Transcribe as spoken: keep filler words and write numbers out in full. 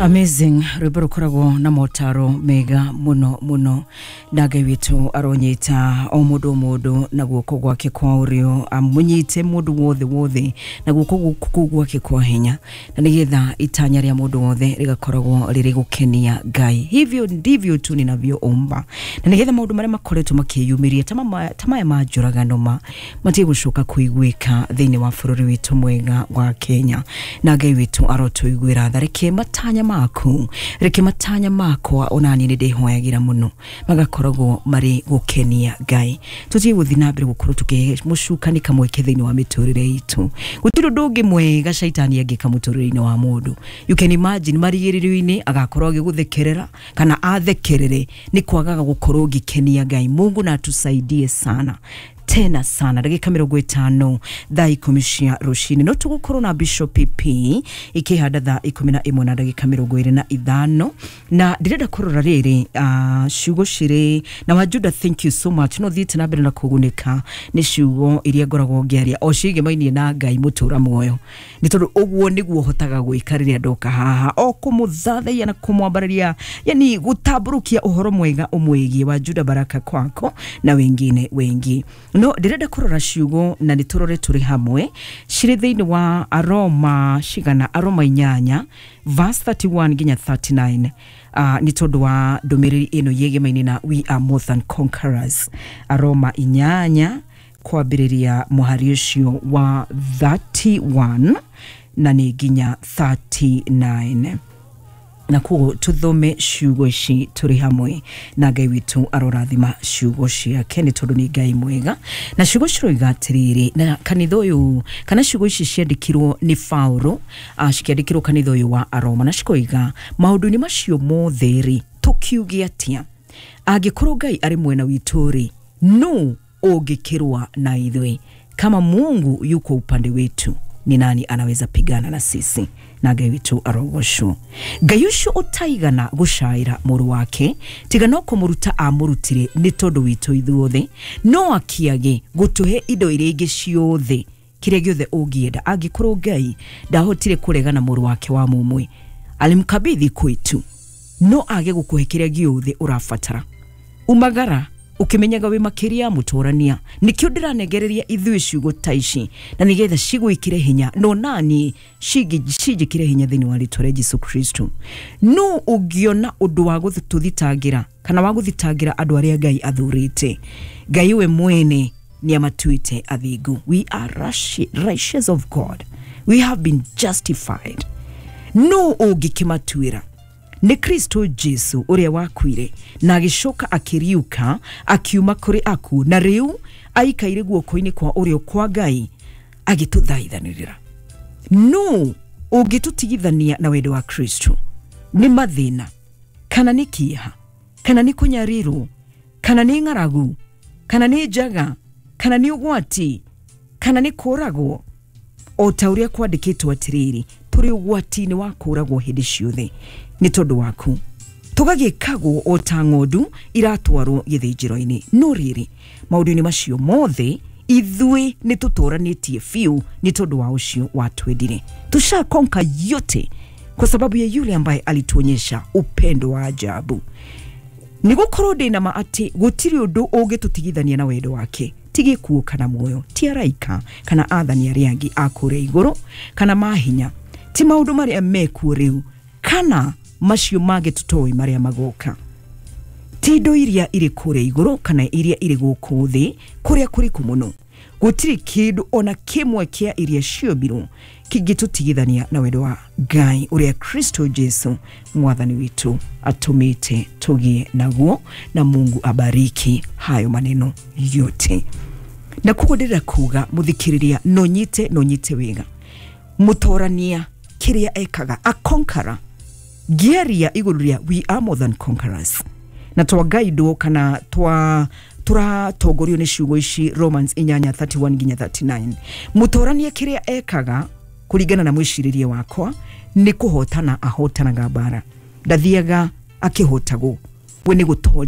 Amazing, rwĩmbo rũkoragwo na motaro mega mũno mũno, na Ngai witũ aronyita o mũndũ o mũndũ na guoko gwake kwa ũrĩo, amũnyite mũndũ wothe wothe na guoko kũu gwake kwa hinya, na nĩgetha itanya rĩa mũndũ wothe rĩgakoragwo rĩrĩ gũkenia Ngai. Hivyo ndivyo tu ninavyoomba, na nĩgetha maũndũ marĩa makoretwo makĩyumĩria ta maya ma njũragano ma matige gũcoka kũiguĩka thĩinĩ wa bũrũri witũ mwega wa Kenya. Na Ngai witũ arotũiguĩra tha, reke matanya maku, reke matanya makwa onani nĩ ndĩhoyagĩra mũno magakoragwo marĩ gũkenia Ngai. Tũtige gũthiĩ na mbere gũkorwo tũkĩhe mũcukani kamweke thĩinĩ wa mĩtũrĩre itũ. Gũtirĩ ũndũ ũngĩ mwega caitani angĩka mũtũrĩre-inĩ wa mũndũ. You can imagine marigĩrĩrio-inĩ agakorwo agĩgũthekerera kana athekerere nĩ kwagaga gũkorwo ũgĩkenia Ngai. Mungu na atusaidie sana tena sana. Ndagĩka mĩrongo ĩtano thaa ikũmi cia rũcinĩ no tũgũkorwo na Bishop P ikĩhanda thaa ikũmi na ĩmwe na ndagĩka mĩrongo ĩrĩ na ithano, na ndĩrenda kũrora rĩrĩ uh, ciugo cirĩ na wa Judah. Thank you so much. No thiĩte na mbere na kũgunĩka nĩ ciugo iria ngoragwo ngĩaria o ciĩgemainie na Ngai mũtũra muoyo, nĩ tondũ ũguo nĩguo hotaga gwĩka rĩrĩa ndoka haha, o kũmũthathaiya na kũmwambararia, yani gũtambũrũkia ũhoro mwega ũmwĩgiĩ wa Judah baraka kwako na wengine wengi. No ndĩrenda kũrora ciugo na nĩ tũrore tũrĩ hamwe cirĩ thĩinĩ wa Aroma cigana, Aroma inyanya verse thirty-one nginya thirty-nine, uh, nĩ tondũ wa ndũmĩrĩri ĩno yĩgemaine na we are more than conquerors. Aroma inyanya kwambĩrĩria mũhari ũcio wa thirty-one na nĩ nginya thirty-nine, na koguo tuthome ciugo ici tũrĩ hamwe na Ngai witũ arorathima ciugo ciake nĩ tondũ nĩ Ngai mwega. Na ciugo ciroiga atĩrĩrĩ, na kanitha ũyũ kana ciugo ici ciandĩkirwo nĩ Paulo, cikĩandĩkĩrwo kanitha ũyũ wa Aroma, na cikoiga maũndũ-inĩ macio mothe rĩ tũkiuge atĩa? Angĩkorwo Ngai arĩ mwena witũ rĩ, nũ ũngĩkĩrũa na ithuĩ? Kama Mungu yuko upande wetu, ni nani anaweza pigana na sisi? Na Ngai witũ arogocwo. Ngai ũcio ũtaigana gũcaĩra mũrũ wake, tiga no kũmũruta amũrutire nĩ tondũ witũ ithuothe, no akiage gũtũhe indo iria ingĩ ciothe, kĩrĩa gĩothe ũngĩenda. Angĩkorwo Ngai ndahotire kũregana mũrũ wake wa mũmwe, alimkabidhi kwetu, no age gũkũhe kĩrĩa gĩothe ũrabatara. Umagara ukimenyaga wĩ makĩria mũtũrania. Nĩkĩo ndĩranegereria ithuĩ ciugo ta ici, na nĩgetha cigwĩkĩre hinya, no nani cinjĩkĩre hinya thĩinĩ wa rĩtwa rĩa Jesu Kristo. No ũngĩona ũndũ wa gũtũthitangĩra kana wa gũthitangĩra andũ arĩa Ngai athurĩte, Ngai we mwene nĩ amatuĩte athingu. We are righteous of God, we have been justified. No ũngĩkĩmatuĩra nĩ Kristo Jesu ũrĩa wakuire na agĩcoka akĩriũka akiuma kũrĩ akuũ, na rĩu aikaire guoko-inĩ kwa ũrĩo kwa Ngai agĩtũthaithanĩrĩra. No ũngĩtũtigithania na wendo wa Kristo? Nĩ mathĩna kana nĩ kĩeha kana nĩ kũnyarirwo kana nĩ ng'aragu kana nĩ njaga kana nĩ ũgwati kana nĩ kũũragwo? O ta ũrĩa kwandĩkĩtwo atĩrĩrĩ, tũrĩ ũgwati-inĩ wa kũũragwo hĩndĩ ciothe nĩ tondũ waku, tũgagĩkagwo o ta ng'ondu iratwarwo gĩthĩnjĩro-inĩ. No rĩrĩ, maũndũ-inĩ macio mothe ithuĩ nĩ tũtũranĩtie biũ nĩ tondũ wa ũcio watwendire. Tushakonka yote kwa sababu ya yule ambaye alituonyesha upendo wa ajabu. Nĩ gũkorwo ndĩ na ma atĩ gũtirĩ ũndũ ũngĩtũtigithania na wendo wake, ti gĩkuũ kana muoyo, ti araika kana athani arĩa angĩ a kũrĩa igũrũ kana mahinya, ti maũndũ marĩa mekuo rĩu kana macio mangĩ tũtoĩ marĩa magoka, ti indo iria irĩ kũrĩa igũrũ kana iria irĩ gũkũ thĩ kũrĩa kũriku mũno. Gũtirĩ kĩndũ ona kĩmwe kĩa iria ciombirwo kĩngĩtũtigithania na wendo wa Ngai ũrĩa Kristo Jesu mwathani witũ atũmĩte tũgĩe naguo. Na Mungu abariki hayo maneno yote. Na koguo ndĩrenda kuga mũthikĩrĩria, no nyite no nyite wega mũtorania kĩrĩa ekaga, a conqueror ngĩaria igũrũ rĩa we are more than conquerors, na twagaidwo kana twa tũratongorio nĩ ciugo ici Romans inyanya thirty-one nginya thirty-nine. Mũtorania kĩrĩa ekaga kũringana na mwĩcirĩrie wakwa nĩ kũhotana ahotanaga mbara, ndathiaga akĩhotagwo, we nĩ gũtoria.